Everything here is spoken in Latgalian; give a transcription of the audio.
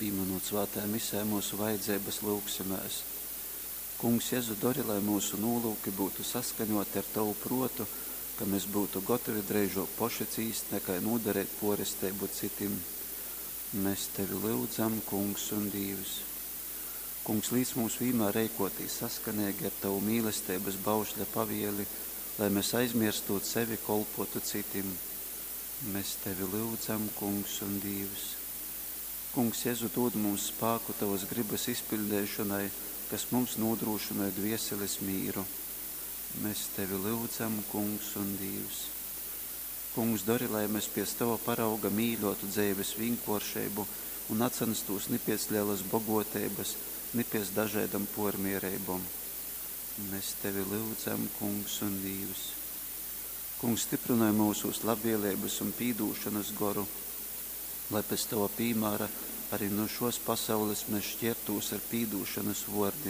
Pīminūt svātajā Misē myusu vajadzeibas, lyugsimēs. Kungs Jezu, dori, lai myusu nūlyuki byutu saskaņōti ar Tovu prōtu, ka mes byutu gotovi dreižōk poši cīst, nakai nūdareit pōresteibu cytim. Mes Tevi lyudzam, Kungs un Dīvs. Kungs, līc mums vīnmār reikōtīs saskaneigi ar Tovu mīlesteibas baušļa pavieli, lai mes, aizmierstūt sevi, kolpōtu cytim. Mes Tevi lyudzam, Kungs un Dīvs. Kungs Jezu, dūd mums spāku Tovas grybas izpiļdeišonai, kas mums nūdrūšynoj dvieselis mīru. Mes Tevi lyudzam, Kungs un Dīvs. Kungs, dori, lai mes piec Tova parauga mīļuotu dzeives vīnkuoršeibu un nacanstūs ni piec lelys boguoteibys, ni piec dažaidom puormiereibom. Mes Tevi lyudzam, Kungs un Dīvs. Kungs, styprynoj myusūs labvieleibys un pīdūšonys goru, lai pēc Tova pīmāra ari nu šuos pasaulis mes škiertūs ar pīdūšonys vuordim.